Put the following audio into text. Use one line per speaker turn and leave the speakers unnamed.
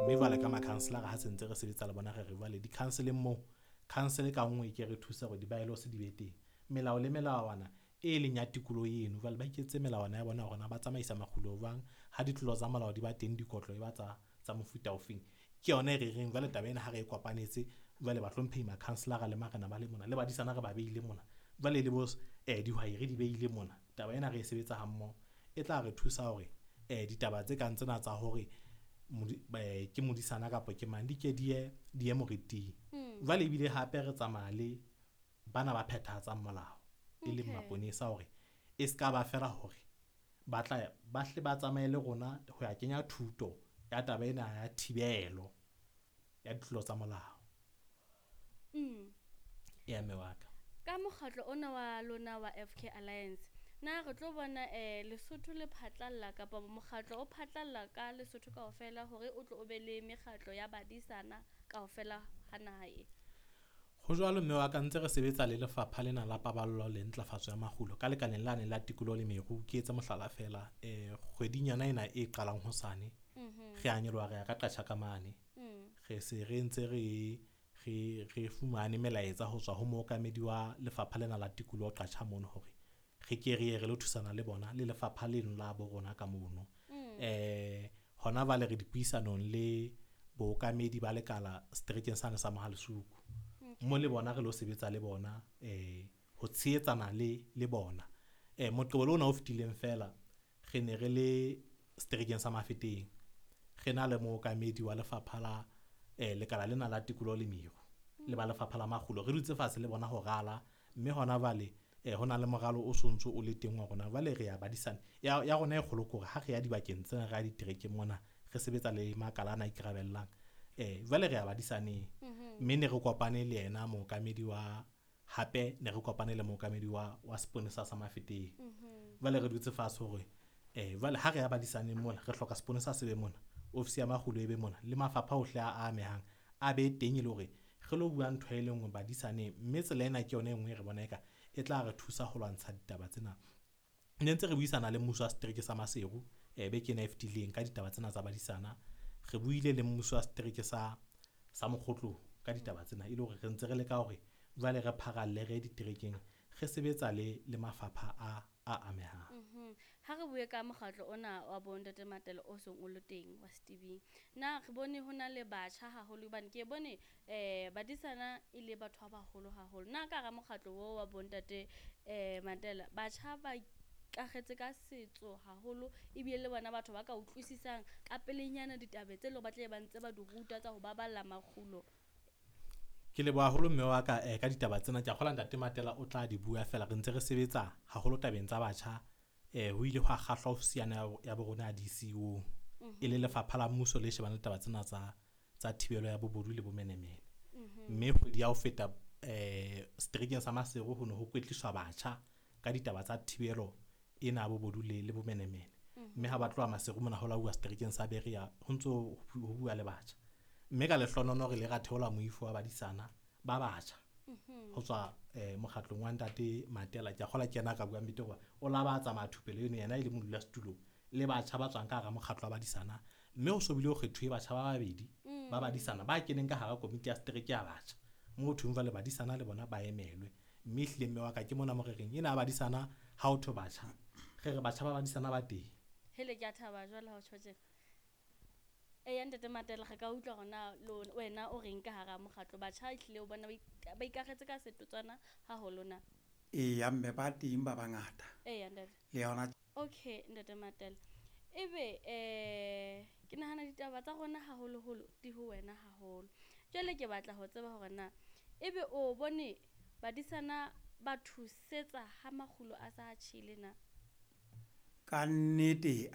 Mme jwale ka makhanselara ha se ntse re sebetsa le bona, re re jwale di-council-eng moo, council ka nngwe e ke re thuse hore di-by-laws di be teng. Melao le melawana e leng ya tikoloho eno, jwale ba iketsetse melawana ya bona hore na ba tsamaisa makgulo jwang, ha ditlolo tsa molao di ba teng, dikotlo e ba tsa mofuta ofeng. Ke yona e re reng jwale taba ena ha re e kopanetse, jwale bahlomphehi makhanselara le marena ba le mona, le badisana re ba beile mona, jwale le bo dihwai re di beile mona. Taba ena re e sebetsa ha mmoho, e tla re thusa hore ditaba tse kang tsena tsa hore ke modisana kapa ke mang, di ke di ye moriting. Jwale ebile hape re tsamaya le bana ba phethahatsang molao, e leng maponesa, hore e ska ba fela hore ba tla ba hle ba tsamaye le rona ho ya kenya thuto ya taba ena ya thibelo ya ditlolo tsa molao. Ya mme wa ka.
Ka mokgatlo ona wa lona wa FK Alliance, na re tlo bona Lesotho le phatlalla kapa mokgatlo o phatlalla ka Lesotho kaofela hore o tlo o be le mekgatlo ya badisana kaofela ha naha e?
Ho jwalo mme wa ka, ntse re sebetsa le lefapha lena la paballo le ntlafatso ya makgulo ka lekaleng lane la tikoloho le meru. Ke etse mohlala feela, kgwedinyana ena e qalang hosane, re a nyoloha re ya ka Qatjhaka mane. Re se re ntse re fumane melaetsa ho tswa ho mookamedi wa lefapha lena la tikoloho Qatjha mono hore re ke re ye re lo thusana le bona le lefapha leno la bo rona ka mono. Hona jwale re dipuisanong le bookamedi ba lekala seterekeng sane sa Mohalesuku. Mo le bona re lo sebetsa le bona, ho tshehetsana le bona. Moqebelo ona o fetileng feela re ne re le seterekeng sa Mafeteng, re na le mookamedi wa lefapha la lekala lena la tikoloho le meru le ba lefapha la makgulo. Re dutse fatshe le bona ho rala, mme hona jwale ho na le moralo o sontso o le teng wa rona. Jwale re ya badisana ya rona e kgolo ke hore ha re ya dibakeng tsena, re ya diterekeng mona, re sebetsa le makala ana a ikarabellang. Jwale re ya badisaneng, mme ne re kopane le yena mookamedi wa, hape ne re kopane le mookamedi wa seponesa sa Mafeteng. Jwale re dutse fatshe hore jwale ha re ya badisaneng mona, re hloka seponesa se be mona, ofisi ya makgulo e be mona, le mafapha ohle a amehang a be teng, e le hore re lo bua ntho e le nngwe badisaneng. Mme tsela ena ke yona e nngwe e re bona eka e tla re thusa ho lwantsha ditaba tsena. Ne ntse re buisana le mmuso wa setereke sa Maseru beke ena e fetileng ka ditaba tsena tsa badisana. Re buile le mmuso wa setereke sa Mokgotlong ka ditaba tsena, e le hore re ntse re leka hore jwale re pharalle re diterekeng, re sebetsa le mafapha a amehang.
Ha re bue ka mokgatlo ona wa bo Ntate Matela o seng o le teng wa Steving, na re bone ho na le batjha haholo, hobane ke bone badisana e le batho ba baholo haholo. Na ka hara mokgatlo oo wa bo Ntate Matela, batjha ba ikakgetse ka setso haholo, ebile le bona batho ba ka utlwisisang ka pelenyana ditaba tse leng ba tle ba ntse ba di ruta tsa ho baballa makgulo?
Ke leboha haholo mme wa ka ka ditaba tsena. Ke a kgolwa Ntate Matela o tla di bua fela, re ntse re sebetsa haholo tabeng tsa batjha. Ho ile hwa kgahlwa ofisi ya bo rona ya DCO, e le lefapha la mmuso le shebang le taba tsena tsa thibelo ya bobodu le bomenemene. Mme kgwedi ya ho feta seterekeng sa Maseru ho ne ho kwetliswa batjha ka ditaba tsa thibelo ena ya bobodu le bomenemene. Mme ha ba tloha Maseru mona ho la uwa seterekeng sa Berea, ho ntso ho bua le batjha. Mme ka lehlonono re ile ra theola moifo wa badisana ba batjha ho tswa mokgatlong wa Ntate Matela. Ke a kgolwa ke yena a ka buang betere hoba o la ba tsamaya thupelo eno, yena e le modulasetulo le batjha ba tswang ka hara mokgatlo wa badisana. Mme ho so bile ho kgethuwe batjha ba babedi ba badisana ba keneng ka hara komiti ya setereke ya batjha, moo thweng jwale badisana le bona ba emelwe. Mme ehlile mme wa ka ke mona mo re reng ena ya badisana ha ho thwe batjha, re re batjha ba badisana ba teng.
Hele, ke a thaba jwale ha o tjho tjena. Eya Ntate Matela, re ka utlwa hore na wena o reng ka hara mokgatlo. Batjha ehlile o bona ba ikakgetse ka setotswana haholo na?
Eya mme, ba teng ba bangata.
Eya ntate.
Le yona.
Okay Ntate Matela, ebe ke nahana ditaba tsa rona haholoholo di ho wena haholo. Jwale ke batla ho tseba hore na ebe o bone badisana ba thusetsa ha makgulo a sa tjhele na?
Ka nnete.